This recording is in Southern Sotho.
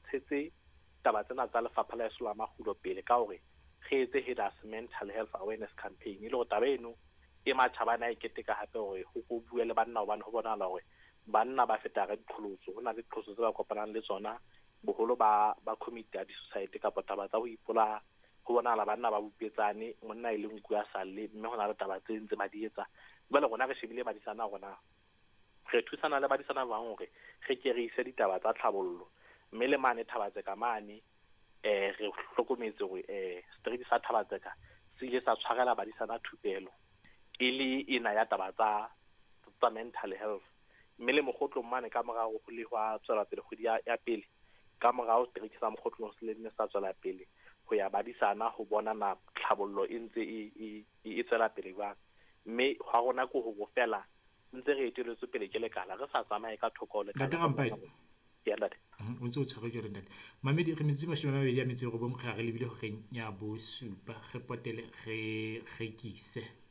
tshetse taba tsena tsa lefapha la heso la makgulo pele ka hore re etse Headers Mental Health Awareness Campaign, e le hore taba eno e matjhaba ana e keteka hape hore ho ko bue le banna, hobane ho bonahala hore banna ba feta ka diqholotso. Ho na le diqholotso tse ba kopanang le tsona, boholo ba commit ya di-suicide kapa taba tsa ho ipolaya. Ho bonahala banna ba bupetsane, monna e le nku a sa lle, mme ho na le taba tse ntse ba di etsa. Jwale rona re shebile badisana rona, re thusana le badisana ba bang hore re ke re ise ditaba tsa tlhabollo. Mme le mane Thabatseka mane, re hlokometse hore street sa Thabatseka se ile sa tshwarela badisana thupelo e le ena ya taba tsa mental health. Mme le Mokgotlong mane ka morao ho le hwa tswela pele kgwedi ya pele, ka morao street sa Mokgotlong se le sa tswela pele ho ya badisana ho bona na tlhabollo e ntse e tswela pele jwang. Mme hwa rona ke hore fela ntse re eteletswe pele ke lekala, re sa tsamaye ka thoko ho lekala. Ntate Rampai. Ya, ntate. O ntse o tshwere jwale, ntate. Mamedi, re metsotso 29 re re lebile horeng ya 7, re potele re rekise.